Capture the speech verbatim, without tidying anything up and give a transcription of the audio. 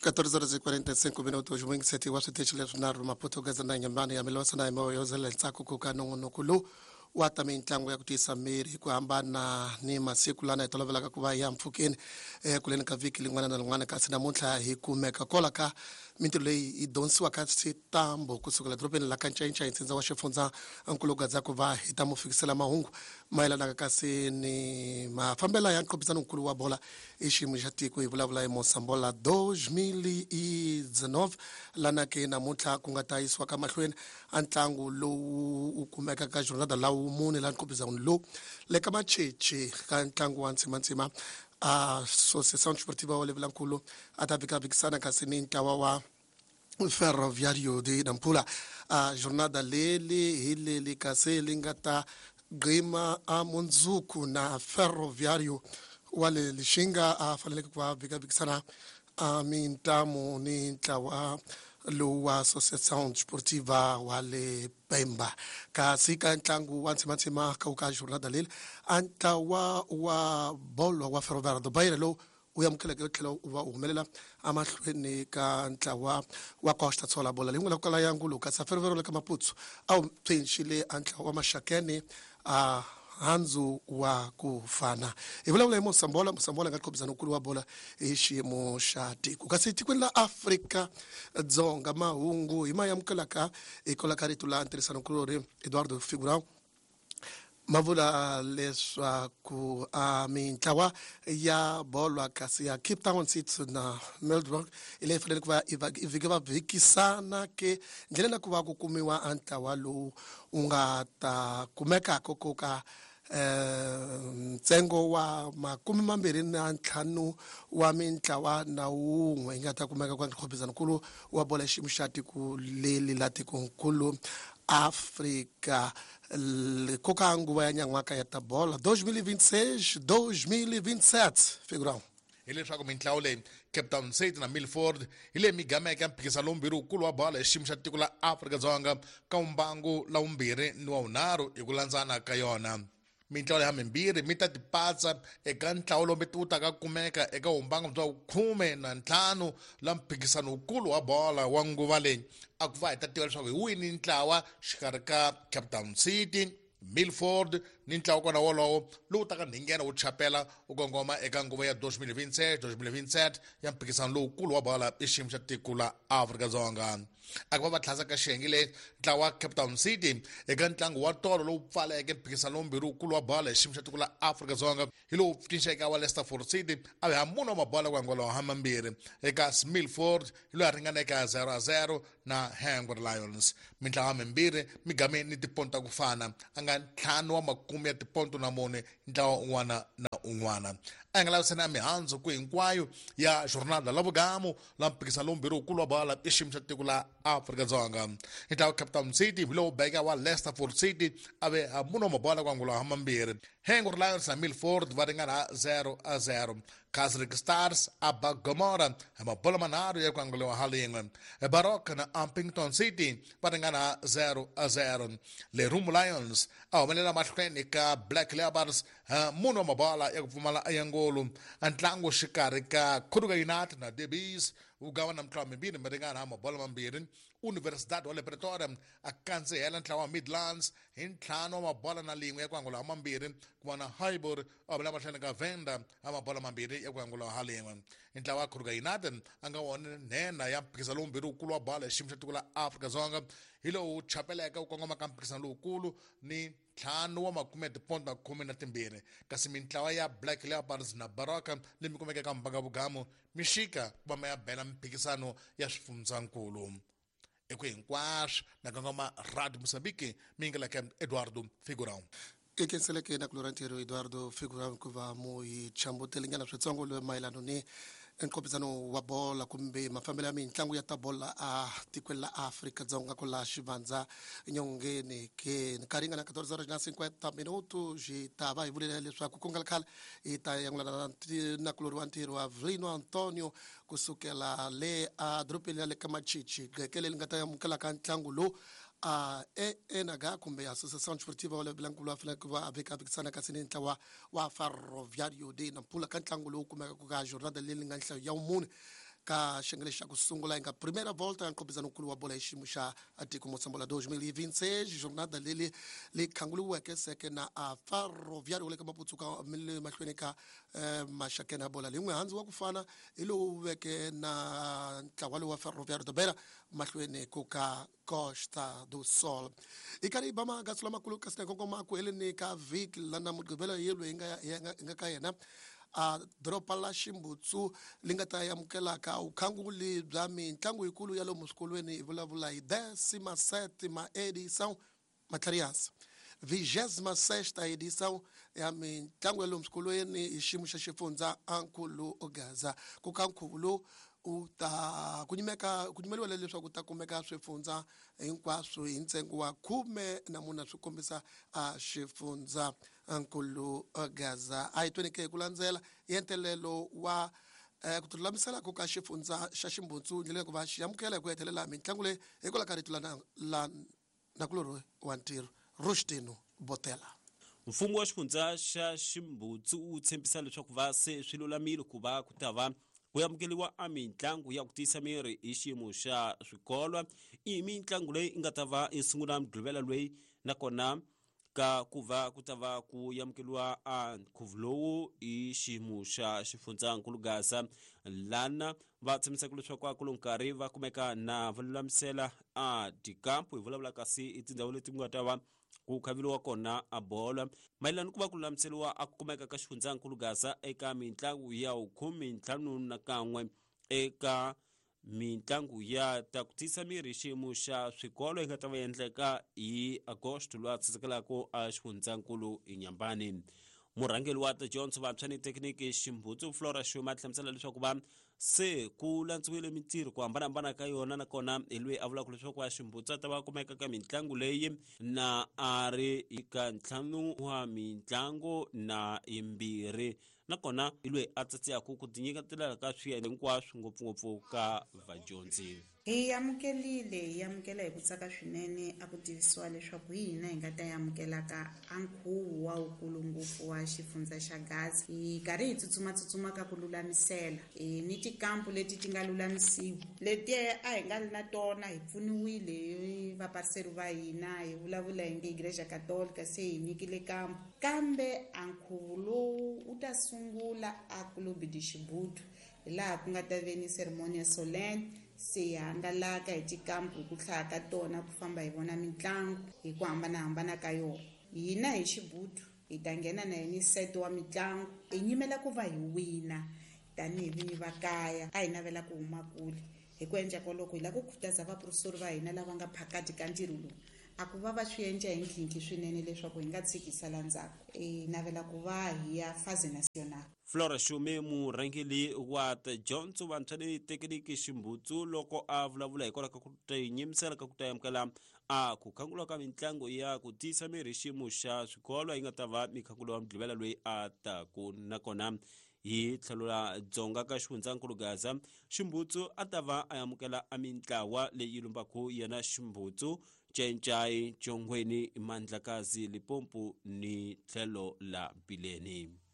quatorze horas e quarenta e cinco minutos mwingiseti wa switichi leswinharhu Maputo Gaza na Nyambani ya Milosa na Imoyozela ntsako ku ka nongonoko lowu wa ta mintlangu ya ku tiyisa miri hi ku hambana ni masiku lana hi tolovelaka ku va ya mpfhukeni ekuleni ka vhiki lin'wana na lin'wana, kasi namuntlha hi kumeka kola ka mintirho leyi yi dyondzisiwaka switambo kusukela dorobeni la ka Ncayincaya ntsindza wa xifundza nkulugadza ku va hi ta mu fikisela mahungu mayelanaka kasi ni mafambela ya nqophisano nkulu wa bola i xiyimo xa tiko. Hi vulavula hi Mosambola dois mil e dezenove lana ke namuntlha ku nga ta yisiwa ka mahlweni a ntlangu lowu wu kumeka ka jornada lawu mune la nqophisano lowu le ka Macheche ka ntlangu wa ntsimantsima a Associação Desportiva wa Levelankulu a ta vikavhikisana kasi ni ntlawa wa Ferroviário de Nampula. A jornada leli hi leli kasi li nga ta gqima a mundzuku na Ferroviário wa le Lixinga a faneleke ku va vikavikisana a mintamu ni ntlawa lowu wa Associação Desportiva wa le Pemba. Kasi ka ntlangu wa ntsimantsima ka ka jornada leli a ntlawa wa bolo wa Ferroviário do Beira lowu u amukeleke u tlhela u va u humelela emahlweni ka ntlawa wa Costa Tsola bola leyi nga la ku kala ya ngulu kasi Ferroviário le ka Maputo a wu pfinxile a ntlawa wa Maxakeni a handzu wa ku fana. Hi vulavula hi Mosambola. Mosambola nga qhobisana nkulu wa bola hi xiyimo xa tiko. Kasi tikweni la Afrika Dzonga mahungu hi ma amukelaka hikwalaho ka rito la ntirhisano nkulori Eduardo Figurão ma vula leswaku a mintlawa ya bolo kasi ya Cape Town City na Melbourne hi leyi fanele ku va i vhiki va vhikisana ke ndlela na ku va ku kumiwa a ntlawa lowu wu nga ta kumekaka ku ka ntsengo wa makume mambirhi na ntlhanu wa mintlawa na wun'we yi nga ta kumeka kwa nkhopizano wa bola ya xiyimo xa tiko leli la tikonkulu Afrika koka nguva ya nyan'waka ya ta bola dois mil e vinte e seis dois mil e vinte e sete Figurão. Hileswaku mintlawa leyi Cape Town City na Milford hi leyi migameke ya mphikizano lowumbirhi wukulu wa bolo hi xiyimo xa tiko la Afrika-Dzonga ka mbangu la wumbirhi ni wa wunharhu hi ku landzana ka yona. Mintlawa leyi mimbirhi mi ta tipatsa eka ntlawa lowu wu taka kumeka eka wumbangu bya khume na ntlhanu la mphikizano wukulu wa bola wa nguva leyi a ku va hi ta tiva leswaku hi wini ntlawa xikarhi ka Cape Town City, Milford ni ntlawa kona wolowo lowu taka nghena wu chapela wu kongoma eka nguva ya dois mil e vinte e seis dois mil e vinte e sete ya mphikizano lowukulu wa bola i xiyimo xa tiko la Afrika-Dzonga. A ku va va tlhasa ka xiyenge leyi ntlawa wa Cape Town City eka ntlangu wa tolo lowu pfaleke mphikizano lowumbirhi wukulu wa bola hi xiyimo xa tiko la Afrika-Dzonga hi lowu cinceke wa Leicester City a va mune wa mabola ku angula ha mambirhi eka Milford hi loyi a ringaneke zero a zero na Hungry Lions. Mintlawa mimbirhi mi game ni tiponto ta ku fana a nga ntlhanu wa makume ya tiponto na mune ntlawa un'wana na un'wana. A nga lavisana ya mihandzu ku hinkwayo ya jornada la vugamu la mphikizano lowumbirhi wukulu wa bola i xiyimo xa tiko la Afrika-Dzonga. Ntlawa Cape Town City hi lowu beka wa Leicester City a ve mune wa mabola ku angula ha mambirhi. Hungry Lions na Milford va ringana zero a zero. Casric Stars a ba Gomora hi mabola manharhu ya ku anguriwa ha lin'we. Baroque na Upington City va ringana zero a zero. Lerumo Lions a humelela mahlweni ka Black Leopards mune wa mabola ya ku pfumala ya ngolo. Ntlangu xikarhi ka Kruger United na Debis wu gava na mitlawa mimbirhi mi ringana ha mabola mambirhi. Universidad wa le Pretoria a kandzihela ntlawa wa Midlands hi ntlhanu wa mabola na lin'we ya ku angula ha mambirhi ku va na Highbury a humelela mahlweni ka Venda ha mabola mambirhi ya ku angula ha lin'we. Ntlawa wa Kruger United a nga wona nhenha ya mphikizano lowumbirhi wukulu wa bola hi xiyimo xa tiko la Afrika-Dzonga hi lowu chapeleke wu kongoma ka mphikizano lowukulu ni ntlhanu wa makume ya tiponto na khume na timbirhi. Kasi mintlawa ya Black Leopards na Baroka leyi mi kumeke ka mbanga vugamu mi xika ku va ma ya bela mphikizano ya swifundzankulu. Eku hinkwaswo na kongoma Radio Mozambique mi nga ka Eduardo Figurão. I khenseleke na ku lora ntirho Eduardo Figurão ku va mu hi chambutelinyana switsongo loyi mayelano ni nqophisano wa bola kumbe mafambelo ya mintlangu ya ta bola a tikweni la Afrika-Dzonga ku la xivandza nyongeni ke nkarhi yi nga na quatorze horas na cinquenta minutos hi ta va hi vulela leswaku ku nga ri khale hi ta yangulana na kulori wa ntirho wa Avelino Antonio kusukela le a dorobeni ya le ka Machichi gqeke leri nga ta amukelaka ntlangu lowu a E N H kumbe Associação Desportiva wa Lebilankulu wa faneleke ku va a veka vekisana kasi ni ntlawa wa Ferroviário de Nampula ka ntlangu lowu kumekaka ka jornada leyi nga nhlayo ya vumune Ka xiyenge xa ku sungula yi nga primeira volta ya nqopizanokulu wa bola hi xiyimo xa tiko Moçambola dois mil e vinte e seis jornada leli li khanguliweke seke na a Ferroviário wa le ka Maputsuka le mahlweni ka Maxakene ya bola lin'we handzu wa ku fana hi lowu veke na ntlawa lowu wa Ferroviário da Beira mahlweni ku ka Costa do Sol. I karhi ba magatsu lamakulu kasi na kongoma ku heleni ka vhiki lana Mugqivela yelo hi nga hi nga ka yena a doroba la Ximbutsu li nga ta amukelaka vukhanguli bya mitlangu yikulu ya lomu swikolweni hi vulavula hi décima sétima edição Matlarias vigésima sexta edição ya mitlangu ya lomu swikolweni hi xiyimo xa xifundza Ankulu Gaza ku ka nkhuvo lowu u ta ku nyimeka ku nyimeliwa leswaku ta kumeka swifundza hinkwaswo hi ntsengo wa khume na mune swi kombisa a xifundza Ankulu Gaza a hi tweni ke hi ku landzela entelelo wa ku tilulamisela ku ka xifundza xa Ximbutsu ndlela ku va xi amukela hi ku hetelela mitlangu leyi hikwalaho ka rito la la nakulorhi wa ntirho Rustino Botela. Mfumo wa xifundza xa Ximbutsu wu tshembisa leswaku va se swi lulamile ku va ku ta va ku amukeriwa a mitlangu ya ku tiyisa miri hi xiyimo xa swikolo. I mitlangu leyi yi nga ta va yi sungula Mugqivela loyi nakona ka ku va ku ta va ku amukeriwa a nkhuvo lowu hi xiyimo xa xifundzankulu Gaza lana va tshembisaka leswaku a ku lo nkarhi va kumeka na va lulamisela a tikampu hi vulavula kasi i tindhawu leti ku nga ta va ku khaveliwa kona a bolo mayelana ku va ku lulamiseriwa a ku kumeka ka xifundzankulu Gaza eka mitlangu ya khume ntlhanu na kan'we eka mitlangu ya ta ku tiyisa miri xiyimo xa swikolo yi nga ta va endleka hi Agosto lowu a tsatsekelaka a xifundzankulu Inhambane. Murhangeri wa tidyondzo vantshwa ni thekiniki Ximbutsu Flora Shuma hlamusela leswaku va se ku landziwile mintirho ku hambanahambana ka yona nakona hi loyi a vulaka leswaku va Ximbutsu a ta va kumeka ka mitlangu leyi na a ri ka ntlhanu wa mitlangu na yimbirhi nakona hi loyi a tsatsiyaka ku tinyiketela ka swiyenge hinkwaswo ngopfungopfu ka vadyondzi. Hi amukelile hi amukela hi ku tsaka swinene a ku tivisiwa leswaku hi hina hi nga ta amukelaka a nkhuvo wa wukulu ngopfu wa xifundza xa Gaza. Hi karhi hi tsutsumatsutsuma ka ku lulamisela ni tikampu leti ti nga lulamisiwa leti a hi nga ri na tona hi pfuniwile hi vapariseri va hina hi vulavula hi nge Igreja Católica se hi nyikile kampu kambe a nkhuvo lowu wu ta sungula a Clube de Xibutu hi laha ku nga ta ve ni ceremonia solemne se hi hangalaka hi tikampu hi ku hlaya ka tona ku famba hi vona mitlangu hi ku hambanahambana ka yona. Hina hi Xibutu hi ta nghena na yini set wa mitlangu hi nyimela ku va hi wina tanihi vinyi va kaya a hi navela ku huma kule hi ku endla kwaloko hi lava ku khutaza vaprofesori va hina lava nga phakati ka ntirho lowu a ku va va swi endla hi nkhinkhi swinene leswaku hi nga tshiki sala ndzhaku hi navela ku va hi ya phase national. Flora Shume murhangeri wa tidyondzo vantshwa ni thekiniki Ximbutsu loko a vulavula hikwalaho ka ku tinyimisela ka ku ta amukela a ku khangula ka mitlangu ya ku tiyisa miri xiyimo xa swikolo yi nga ta va mikhangulo wa Mugqivela loyi a taku nakona hi tlhelo ra dzonga ka xifundzankulu Gaza Ximbutsu a ta va a amukela a mintlawa leyi lumbaku yena Ximbutsu Cencai Chongweni Mandlakazi Limpopo ni tlhelo la Bileni.